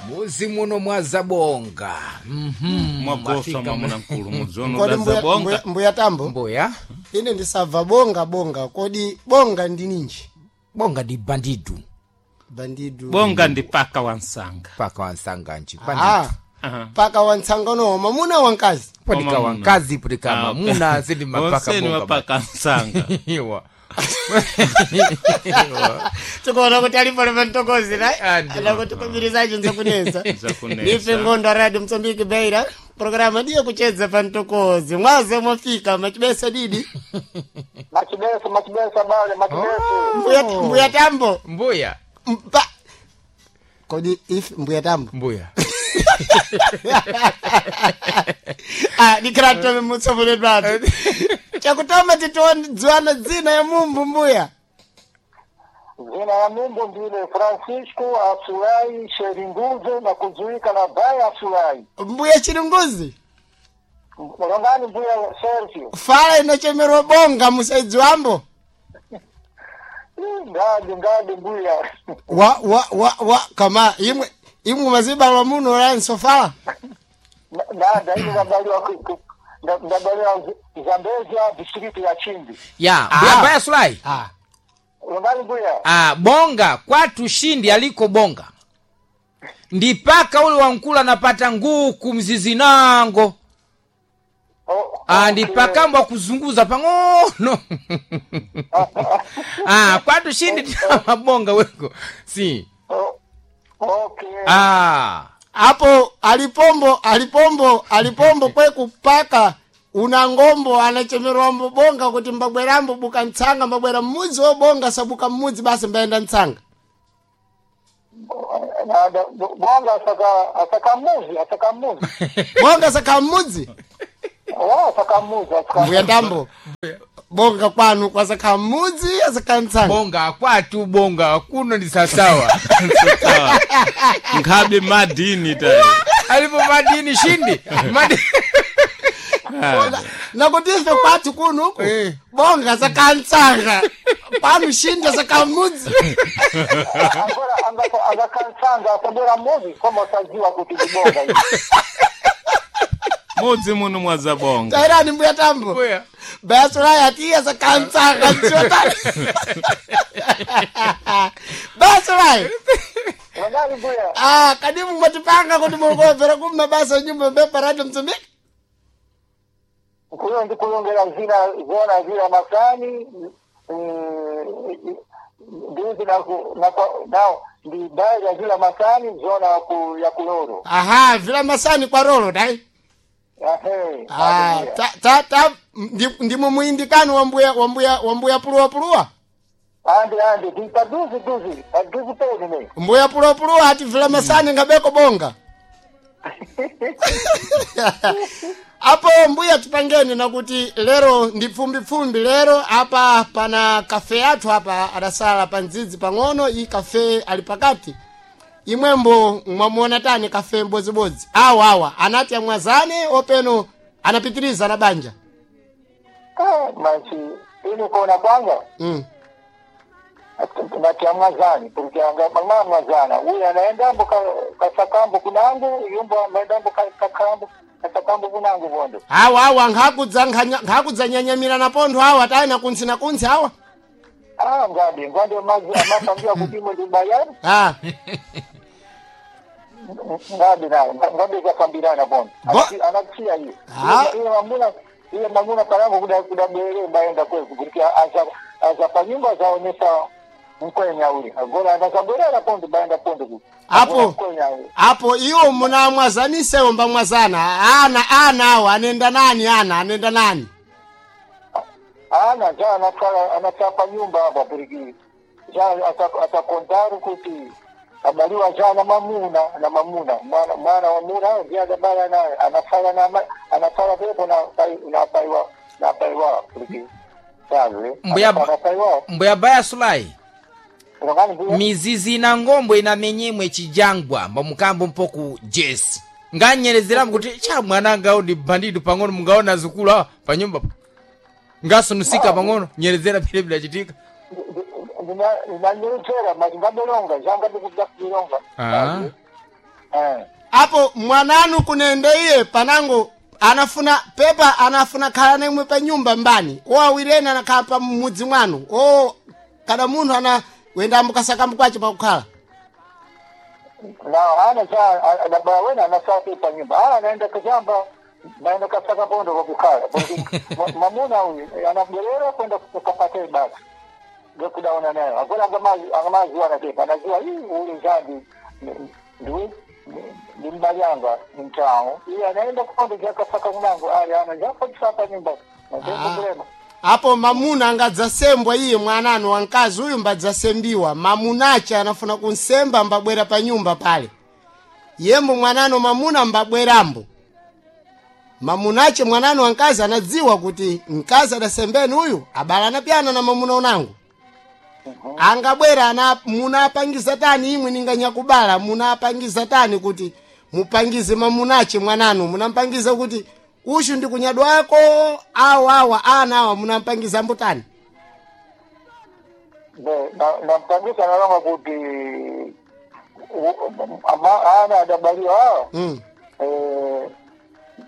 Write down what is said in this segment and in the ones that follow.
Muzi muno mwazabonga. Mwagosa Mwafika mwamuna mkulu mudzono Kodi mbuya, dazabonga. mbuya tambo Mbuya. Ine ndisabva bonga bonga, kodi bonga ndi ninji? Bonga ndi bandidu. Bandidu. Bonga ndi paka wansanga. Paka wansanganji. Ah, Bandidu. Aha. paka wantsangano mamuna wankazi. Putika Wamamuna. wankazi, putika Ah, mamuna, zindi mapaka Onseni bonga. wapaka nsanga. Iwa. Tikuona kuti alipo lematokozi Ah, ndi. anakutikubirizacho nzakunesa. Nzakunesa. Ndife Ngondo Radio Msambiki Beira, programa ndiyo kucheza pantokozi mwaze mwafika machibesa didi. Machibesa, machibesa bale, machibesa. Mbuya, mbuya tambo. Mbuya. Mpa. Kodi if mbuya tambo. Mbuya. Ah, nikratome mutsovoledwatu chakutama titodziwana dzina ya mumbu mbuya. Zina ya Mungu ndile Francisco Asulai Sheringuze na kuzuika na Baya Asulai. Mbuya Chiringuzi. Mulongani mbuya Sergio. Fala inochemerwa bonga musaidzi wambo. Ngadi ngadi mbuya. Wa wa wa wa kama imwe imwe mazibalwa muno lanso fala. Nada ine ndabaliwa ndabaliwa Zambezia district ya Chimbi. Ya, mbuya Ah. Baya Sulai. Ah. Mulongani mbuya. Ah, bonga kwatu shindi aliko bonga. Ndipaka ule wankula napata nguku mzizi nango. Oh, Ah, okay. ndipakamba kuzunguza pang'ono. Ah, kwatu shindi mabonga weko. Si. Oh, okay. Ah. Apo alipombo alipombo alipombo kwe kupaka una ngombo anachemerwambo bonga kuti mbabwerambo buka ntsanga mbabwera mmudzi wobonga sabuka mmudzi basi mbaenda ntsanga. Nada bonga asaka asaka muzi asaka muzi. Bonga saka mmudzi. Oh, asaka muzi asaka. Mbuya tambo. Bonga kwanu kwasaka mmudzi asaka ntsanga. Bonga kwatu bonga kuno ndi sasawa. Sawa. Nkhabe madini tayi. Alipo madini shindi. Madi. Nakuti ife kwathu kuno uku Eh. bonga saka ntsanga kwanu shinda saka mmudzi. Agora angakansanga asabwera muzi koma usadziwa kuti ndibonga izi. Mudzi muno mwazabonga. Tairani mbuya tambo. Mbuya. Basolai atiya sakantsanga ntsiotani. Basolai. Mulongani mbuya. Ah, kadimu mwatipanga kuti mulikomvera kumma basa nyumba mbepa Radio Msumbiki. Kuyo ndikulongera zina zona zila masani ndizi na ku na kwa nao ndi baya zila masani zona ya ku ya kuloro. Aha, vila masani kwa rolo dai. Ahe. Ah, ta ta ta ndimo muindikano wa mbuya wa mbuya wa mbuya puluwa puluwa. Andi andi ndi paduzi duzi paduzi peni ne. Mbuya puluwa puluwa ati vila masani ngabeko bonga. Apo mbuya tupangeni nakuti lero ndi pfumbipfumbi lero apa pana kafe yathu apa adasala pa ndzidzi pang'ono iyi kafe ali pakati imwembo mwamuona tani kafe mbodzibodzi awa awa anati amwazane openo anapitiriza na banja. Ah, machi ini kona kwanga ngati amwazani porque anga mama amwazana uyu anaendambo kasakambo kunangu yumbo amaendambo kakambo kasakambo kunangu vondo. Awa awa nkhakudza nkhakudza nyanyamira na pontho awa tayina kuntsi na kuntsi awa. Ah, ngadi ngadi amazi amapangiwa kuti imwe ndi bayani. Ah. Ngadi nayo ngadi zakambirana vondo. Anakusiya iye. Ah. Iye mamuna iye mamuna parangu kuda kuda bwere baenda kweku kuti aza aza panyumba zaonesa mkwenya uli agora anazabwerera pondo baenda pondo kuti Apo. mkwenya uli. Apo iwo munamwazanisewo mbamwazana ana ana awo anenda nani ana anenda nani. Ana ja anatwala anatwala panyumba apa porque ja atakontaru kuti abaliwa ja na mamuna na mamuna mwana mwana wa muna ndiye adabala naye anafala na anafala pepo na na paiwa na paiwa porque sabe Mbuya anafala paiwa. Mbuya Baya Sulai. Mulongani mbuya. Mizizi na ngombo inamenyemwe chijangwa mbamukambo mpoku jesi nganyerezeramu kuti cha mwananga ndi bandidu pang'ono mungaona zukulu awa panyumba pa ngasunusika pang'ono nyerezera pile bilachitika. Ndinanyerezera mati ngabelonga janga ndikudakilonga. Ah. Apo mwananu kunende iye panango anafuna pepa anafuna khala nemwe pa nyumba mbani o awiri ena anakhala pa mudzi mwanu o kada munthu ana wenda kasakamba kwace pakukhala Na ana cha adabala wena anasafi pa nyumba. Ah, naenda kujamba naenda kasaka pondo kwa kukhala. Mamuna huyu anabwerera kwenda kupata basi. Ndio kudaona nayo. Akora angamazi wana anajua hii ule zambi ndiwe ni mbalyanga ni mtao. Iye anaenda kupondo jakasaka mlango ali ana japo kisapa nyumba. Ndio problema. Apo mamuna angadzasembwa iye mwananu wankazi uyu mbadzasembiwa mamunache anafuna kunsemba mbabwera pa nyumba pale yembo mwananu mamuna mbabwerambo mamunache mwananu wankazi anadziwa kuti mkazi adasembeni uyu abala anapyana na mamuna unangu angabwera ana munapangiza tani imwe ninganyakubala munapangiza tani kuti mupangize mamunache mwananu munampangiza kuti ushu ndi kunyadwako awa awa ana awa munampangiza mbutani Nampangisa nalonga kuti ana adabaliwa awa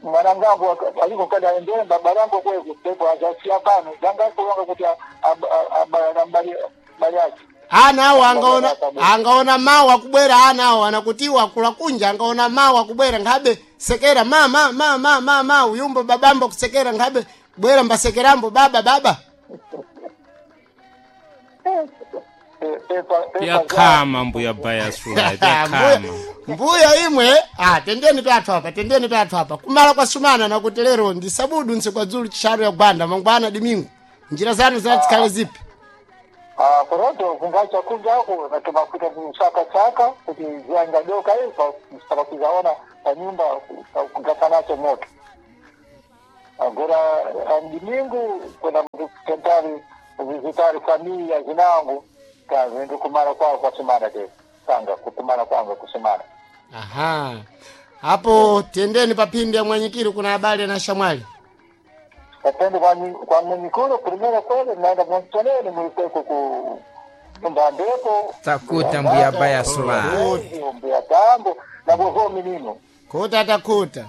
mwanangambo aliko kada endele babalango kweku pepo azasia pano zanga kulonga kuti abala mbali mbali yake ana awo angaona angaona mawu akubwera ana awo anakutiwa akula kunja angaona mawu akubwera nkhabe sekera ma ma ma ma ma ma uyumbo babambo kusekera nkhabe bwera mbasekerambo baba baba Yakhama mbuya bayasula yakhama. Mbuya imwe tendeni pyathu apa tendeni pyathu apa kumala kwa sumana nakuti lero ndi sabudu ntsikwadzulu chishanu ya gwanda mangwana dimingu njira zanu zinazikhale zipi? Kuroto kungacha kunja ako natumakuta kusaka chaka kuti ziangadoka ipa msitakakuzaona pa nyumba kugasanacho moto agora andimingu kwenda tentari vizitari familia zinangu kazindu kumara kwao kwa sumana te sanga kukumara kwangu kusumana. Aha, hapo tendeni papindi ya mwanyikiri kuna habari na shamwali Kapende kwa mwenyikuru primera kwele naenda mwantoneni mwikweko ku nyumba ndeko Takuta mbuya baya sula. Mbuya tambo na bovo minino kuta takuta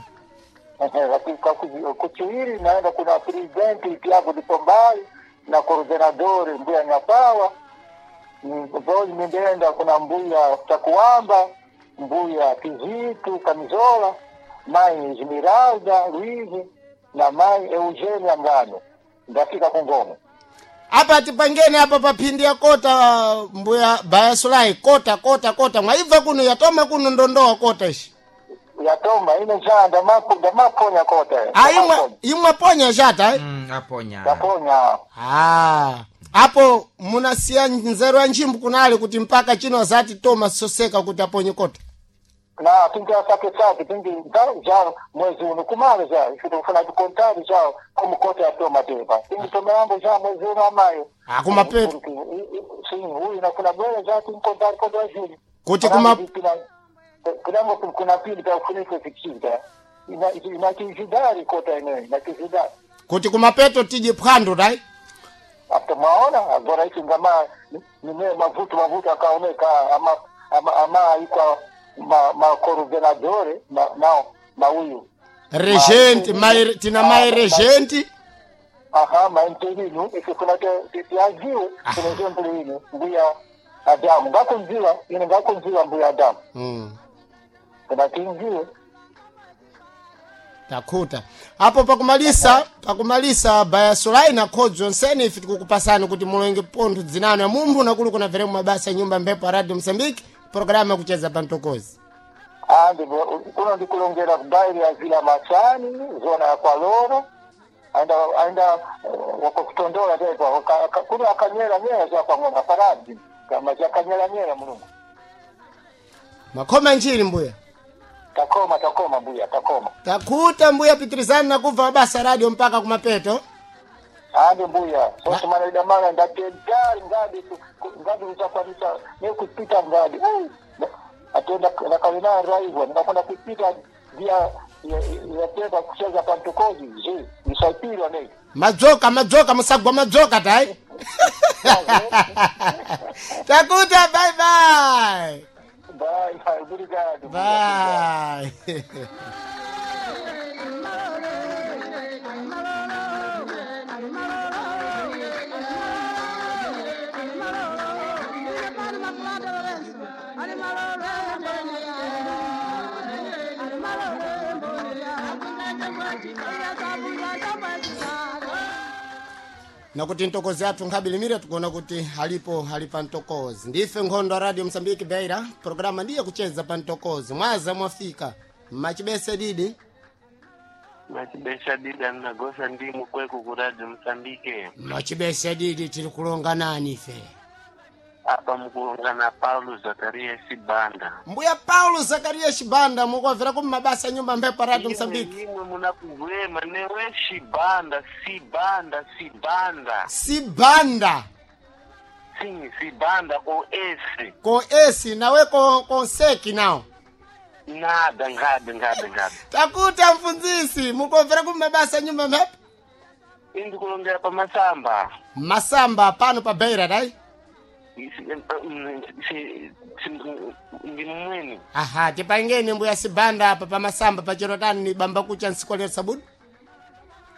kuchiwiri naenda kuna presidenti Tiago de Pombal na coordenador mbuya Nyapawa vozi mindeenda kuna mbuya Takuamba mbuya Kizitu Kamizola mai Esmeralda Luiz na mai Eugenia Ngano ndafika kungoma apa tipangeni apa paphindi ya kota mbuya bayasulai kota kota kota mwaibva kuno yatoma kuno ndondowa kota ishi yatoma ine ja ndamaponya kota imwe imwe ponya chata eh? Aponya ndaponya. Apo munasiya nzeru ya nchimbu kunali kuti mpaka chino azati toma soseka kuti aponye kota na tingi asake sake tingi ja mwezi uno kumala ja ife tikufuna tikontari ja como kota yatoma tepa tingi toma yangu ja mwezi uno amayo Akumapeto. Sim, huyu nakuna bwera ja tinkontari kota ya juli Kuti kuma- kunango kuna pili pa kufuniko fikita ina inakijidari kota ine inakijidari kuti kumapeto tije phwando tai After maona agora ichi ngama nime mavuto mavuto akaoneka ama ama ama ikwa ma ma coordenadore ma nao mauyu regente mai tina mai regente aha ma interino ife kuna te tiajiwe kuna exemplo ino mbuya Adamu ngakunziwa ine ngakunziwa mbuya Adamu kuna tinziwe Takhuta apo pakumalisa bayasulai na khodzo onsene ife tikukupasani kuti mulenge pontho dzinano ya mumphu nakuli kuna veremu mabasa ya nyumba mphepo ya radio Mosambiki programu yakucheza pantokozi. Andi kuno ndikulongera kubairi ya Vila Machani zona ya Kwaloro aenda aenda wakutondola tepa kuno akanyera nyera za kwa ng'ombe paradi kama zakanyera nyera mulungu. Makhoma nchiri mbuya. Takoma takoma mbuya takoma. Takhuta mbuya pitirizani na kubva mabasa radio mpaka kumapeto. Andi mbuya sose mana idamana ndatentari ngadi ngadi kuchakwanisa nekupita ngadi atenda nakalina raivwa ndakona kupita via yatenda kucheza pantokozi je nisaipirwa nei Madzoka madzoka musagwa madzoka tai. Takuta bye bye. Bye, bye, obrigado. Bye. Nakuti ntokozi athu nkhabilimire tikuona kuti alipo ali pa ntokozi. Ndife nkhondo ya Radio Msambiki Beira, programa ndiye kucheza pa ntokozi. Mwaza mwafika machibese didi. Machibesha dida mnagosa ndimu kweku ku Radio Msambike. Machibese didi, tiri kulonga nani ife? Apa mukulonga na Paulo Zakaria Sibanda. Mbuya Paulo Zakaria Shibanda, mukwamvera ku mabasa nyumba mphepo Radio Msambiki. Imwe munakugwema newe Shibanda, Sibanda, Sibanda. Sibanda. Sim, Sibanda com S. Ko esi nawe ko konseki nawo. Nada, ngada, ngada, ngada. Takuta mfunzisi, mukwamvera ku mabasa nyumba mphepo. Indi kulongera pa Masamba. Masamba pano pa Beira dai. Ndi mwini. Aha, tipangeni mbuya Sibanda apa pa Masamba pachero tani ni bamba kucha nsikolera sabudu.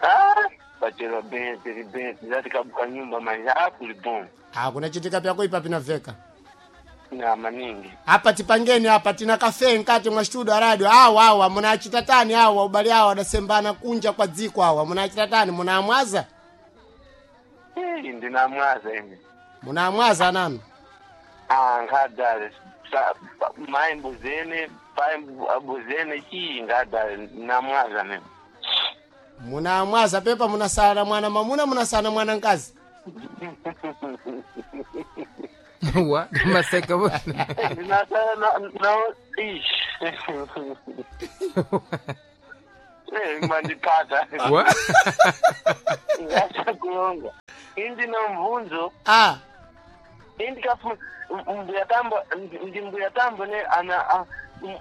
Ah, pachero bem, tiri bem, zati kabuka nyumba mas ah, kuli bom. Ah, kunachitika pyako ipa pinaveka. Na maningi. Apa tipangeni apa tina kafe nkati mwa studio ya radio. Awa awa munachita tani awa ubali awa adasembana kunja kwa dziko awa munachita tani munamwaza. Ei, ndinamwaza ine. Munamwaza nanu. Ah, ngadale. Mai mbuzene, pai mbuzene chii ngadale namwaza mimi. Munamwaza pepa munasala mwana mamuna munasala mwana nkazi. Wa maseka bwana. Ndinasala na ish. Eh, mandipata. Wa Ngachakulonga. Indi na mvunzo, Ah, indi kafu mbuya tambo ndi mbuya tambo ne ana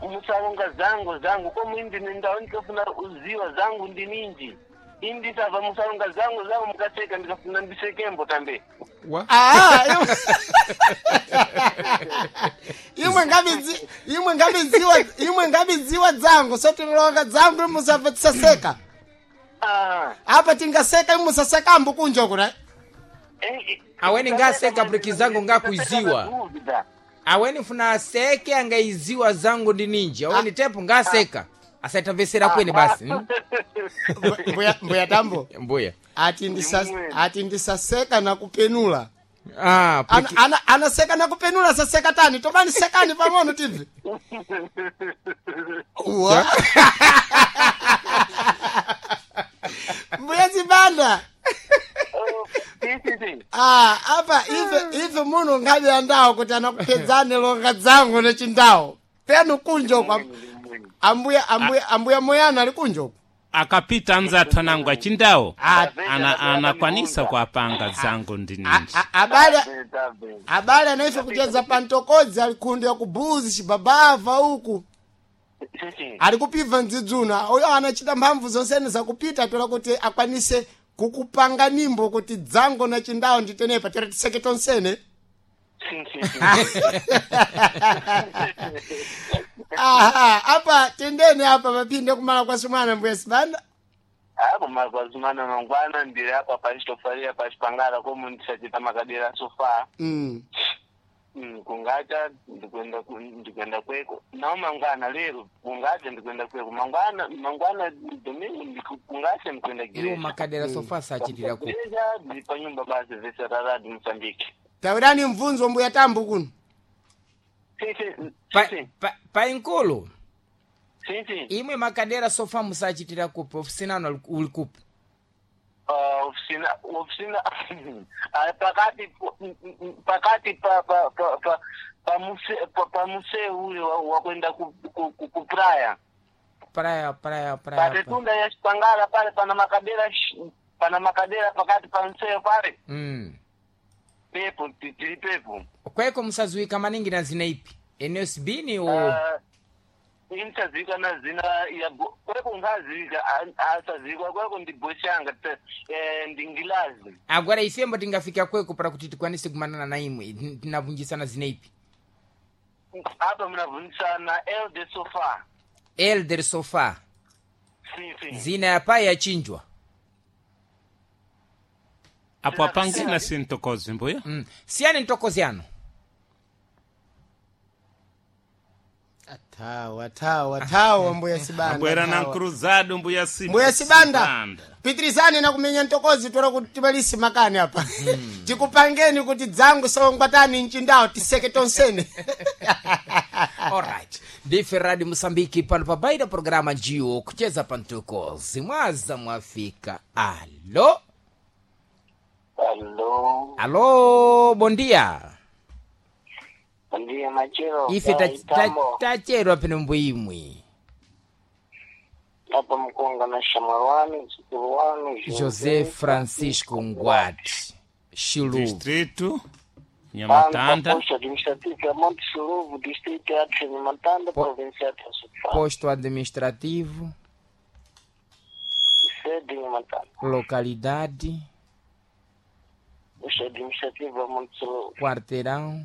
musalonga zangu zangu komu indi nindawo ndikafuna uziwa zangu ndi ninji indi sava musalonga zangu zangu mukaseka ndikafuna ndisekembo tambe. Wa ah, imwe ngabidzi imwe ngabidziwa imwe ngabidziwa dzangu sotilonga dzangu musabva tisaseka. Ah. Apa tingaseka imwe musasekambo kunja kuna. Aweni ngaseka briki zangu ngakuiziwa. Aweni funa aseke angaiziwa zangu ndi ninji. Aweni tepo ngaseka asaitamvesera kwene basi. Mbuya mbuya tambo. Mbuya. Ati ndisa ati ndisaseka na kupenula. Ah, Ana, ana, anaseka na kupenula saseka tani tobani sekani pang'ono tibvi. Uwa. Mbuya Zibanda. Ah, apa ife ife muno ngabe andawo kuti anakupedzani longa dzangu nechindawo. Penu kunjo kwa ambuya ambuya ambuya moyana ali kunjo. Akapita anzathu anangu achindawo. Ah, Ana anakwanisa kuapanga zangu ndi ninji. abale abale anaife kucheza pantokodzi ali khundu ya kubuzi chibabava uku. Ali kupibva ndzidzuna uyo anachita mphamvu zonsene zakupita tola kuti akwanise kukupanga nimbo kuti dzango na chindawo nditenepa tera tiseke tonsene. Aha, apa tendeni apa mapinde kumala kwa sumana mbuya Sibanda. Apo makwazumana mangwana ndiri apa pachitofaria pachipangara komu ndisachita makadera sofa. Kungacha ndikuenda ndikuenda kweko nawo mangwana lero kungacha ndikuenda kweko mangwana mangwana domingo kungacha ndikuenda iwo gereja. makadera sofa sachitira ku. Gereja ndiri panyumba basi vese raradi Mozambique. Tawirani mvunzo mbuya tambo kuno. Sim, Pa, sim, pa, pa inkolo sim, sim. imwe makadera sofa musachitira kupi ofisina ano uli kupi. Oficina oficina pakati pakati pa pa pa pa pa muse pa, pa museu ule wa kwenda ku, ku, ku, ku praia. Praia praia praia. Patetunda ya Chipangala pale pana makadera pana makadera pakati pa mseo pale. Pepo tili pepo. Kweko musazuika maningi na zina ipi NSB ni o Inchazika na zina ya kweko ngazika asazikwa kweko ndi boshanga ndi ngilazi. Agora ifembo tingafika kweko para kuti tikwanise kumanana na imwe tinavunjisana zina ipi. Apa mnavunjisana Elder Sofa. Elder Sofa. Sim, sim. Zina ya pai yachinjwa. Apo apangena sintokozi mbuya. Siyani ntokoziano. Athawa, athawa, athawa mbuya Sibanda. Abwera na athawa. nkruzado mbuya Mbuya Sibanda, pitirizani na kumenya ntokozi tola kuti timalise makani apa. Tikupangeni kuti dzangu sawangwatani mchindawo tiseke tonsene. Alright. Ndife Radio Mosambiki pano pabaida programa njiwo kucheza pantokozi mwaza mwafika. Alo. Alô, Alo, bom dia. bom dia, Machiro. Ife tacherwa pano mbuimwi. Apa mkunga na Shamarwani, mzukuru wanu, José Francisco Ngwati. Chiluvo. Distrito Nhamatanda. Posto administrativo ya Monte Suluvo, distrito ya Nhamatanda, província ya Sofala. Posto administrativo, Sede Nhamatanda. localidade, Posto administrativo ya Monte Suluvo. quarteirão,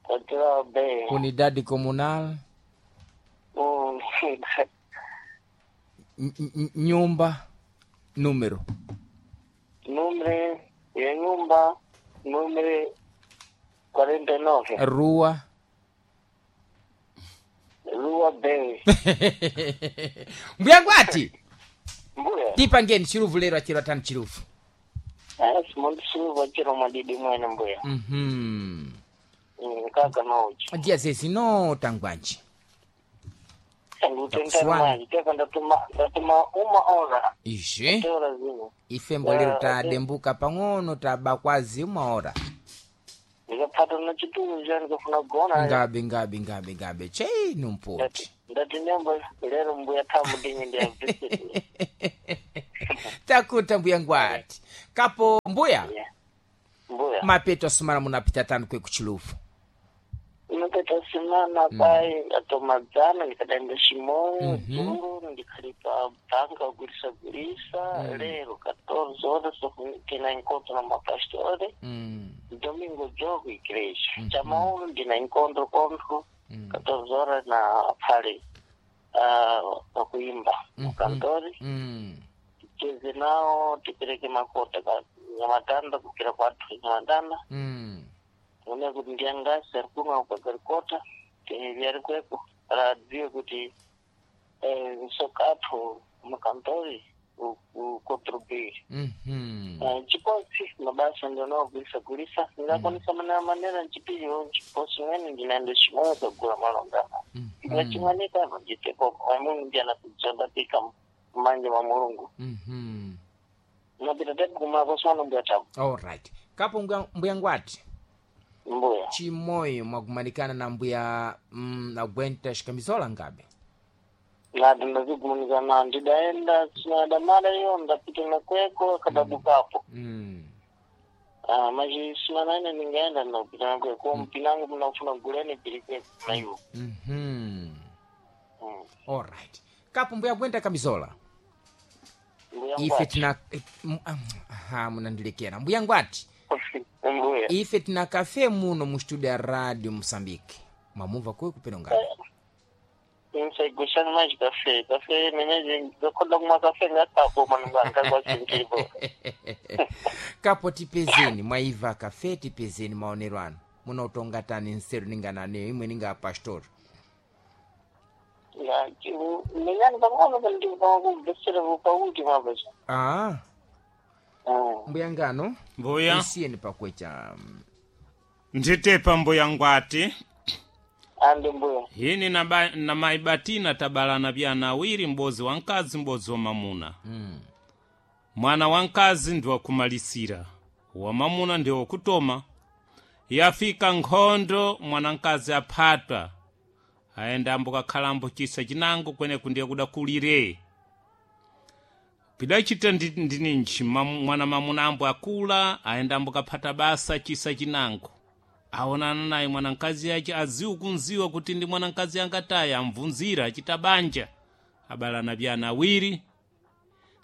Quarteirão B. unidade comunal, nyumba, número. Número ya nyumba, número 49. Rua. Rua B. Mbuya Ngwati, Mbuya. tipangeni chiluvu lero achero atani chiluvu. Asi Monte Suluvo achero madidi mwene mbuya. Kaka nauchi. Dia zezi no tangwanji. Ndutendana Takuswana. manje teka ndatuma uma ora. Izve Ora zino. ife mbolero tadembuka pang'ono tabakwazi uma ora. Ndikapata na chitulu cha ndikafuna kugona. Ngabe ngabe ngabe ngabe chei numpoti. Ndati nyamba lero mbuya tamu dinyi ndi visit. Takuta mbuya Ngwati. Kapo mbuya Mbuya. mapeto asumana munapita tano kwe kuchiluvu. Unopeta simana pai atomadzana ndikadaenda Chimoyo dzulo ndikhalipa bhanga kugulisa gulisa lero 14 horas tina encontro na mapastore. Domingo jogo igreja. Chamauro ndina encontro contro 14 horas na pale pakuimba mukantori. Ticheze nawo tipereke makota ka Nyamatanda kukira kwathu Nyamatanda. Une kuti ndiyangasi ari kumwa kukagarikota vyari kweko radziwe kuti sokatho mukantori ukontribuire. Chiposi mabasa ndinoagulisa gulisa ndingakwanisa manera manera nchipiriwo nchiposi mwene ndinaenda chimoyo kagula malongana ngachimwanika nditepo amweni ndiyana kudzondapika manje mwa Mulungu. Napita tepo kumako mbuya tabu. Alright. Kapo mbuya Ngwati. Mbuya. Chimoyo mwagumanikana na mbuya agwenta shikamizola ngabe. Nati ndazigumanikana ndidaenda sinadamala iyo ndapita nakweko kadabukapo. Maji simana ine ndingaenda ndapita nakweko mpinangu mnafuna guleni pilikweko naiwo. Alright. Kapo mbuya gwenta kamizola. Mbuya Ife Ngwati. tina aha munandilekera. Mbuya Ngwati. Mbuya. Ife tina kafe muno mu studio ya Radio Mosambiki. Mwamumva kwe kupeno ngabe. Nsaigushani maji kafe kafe meneje ngakonda kumwa kafe ngatapo manungangangwachintilipo. Kapo tipezeni mwaiva kafe tipezeni maonero anu. Munotonga tani nseru ningananeyo imwe ninga pastor. Menyani pang'ono pandikubvesera pauti mapacha. Mbuya ngano Mbuya. isiyeni pakwecha. Nditepa mbuya Ngwati. Ande mbuya. Hini na maibatina tabalana vyana awiri mbozi wa nkazi mbozi wa mamuna. Mwana wa nkazi ndi wakumalisira, wa mamuna ndi wakutoma. Yafika nkhondo mwana nkazi aphatwa ayenda ambokakhalambo chisa chinango kweneku ndiye kudakulire. Pidachita ndininji mwana mamuna ambo akula ayenda ambokaphata basa chisa chinango. Aonana naye mwanankazi yace aziwu kunziwa kuti ndi mwanankazi angataya amvunzira achita banja abalana vyana awiri.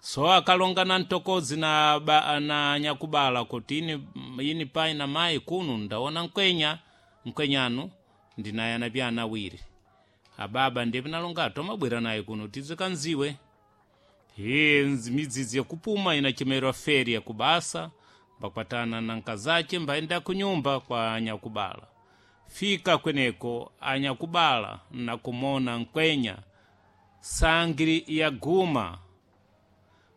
So akalonga na ntokozi na, na nyakubala kuti ini pai na mai kunu ndaona nkwenya nkwenyanu. Ndinaye anapya ana awiri. Ababa ndiye pinalonga tomabwera naye kuno tizikanziwe. Iye midzidzi yakupuma inachemerwa feria kubasa, mbakwatana na nkazache mbaenda kunyumba kwa anyakubala. Fika kweneko anyakubala nakumona nkwenya sangiri yaguma,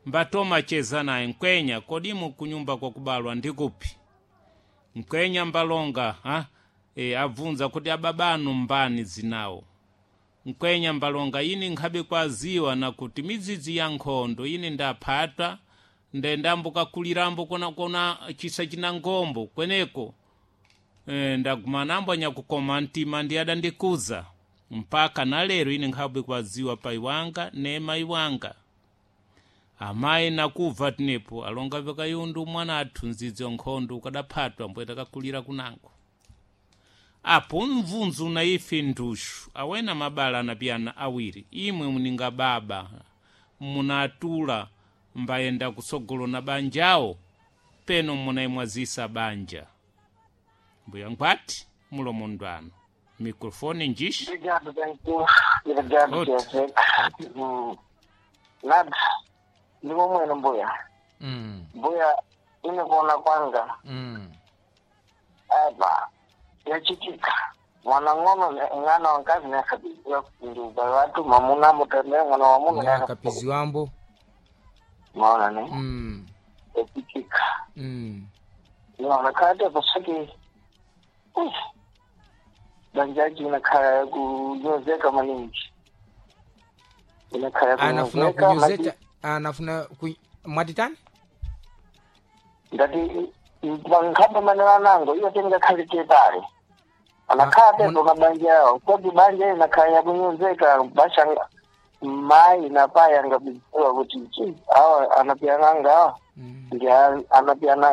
mbatoma cheza naye nkwenya, kodimu kunyumba kwa kubalwa ndikupi? Nkwenya mbalonga ha? Abvunza kuti ababanu mbani zinawo. Nkwenya mbalonga ini nkhabe kwaziwa na kuti midzidzi ya nkhondo ini ndaphata ndendambuka kulirambo kona chisa china ngombo kweneko, ndagumanambo anyakukoma mtima ndi adandikuza mpaka na lero ine nkhabe kwaziwa pai wanga ne mai wanga. Amayi nakubva tinepo alonga vyakayundu mwana athu ndzidzi wa nkhondo ukadaphatwa mbwe takakulira kunango. Apo mvunzu na ife nduxu awena mabala anapiyana awiri, imwe muninga baba munatula mbayenda kusogolo na banjawo peno munayimwazisa banja. Mbuya nkhwati mulomo ndwano mikrofoni njixi. Obrigado, thank you. Obrigado, Outro. Joseph. Nada, ndimo mwene mbuya. Mbuya, ine kuona kwanga apa yachitika mwana ng'ono ng'ana wankazi nakabiziwa ndi ubale watu mamuna mutemere mwana wa muna Nakapiziwambo. Maona ne yachitika. Naona kate pasaki banjaji inakhala kunyozeka maningi, inakhala Anafuna kunyozeka. kunyozeta anafuna mwatitani. Ngati mankhamba manena nango iyo tingakhale pale anakhala tepo mabanja yawo kodi banja inakhala yakunyozeka basha mayi na payi angabiziwa kuti chi awa anapiananga awa ndi anapiananga.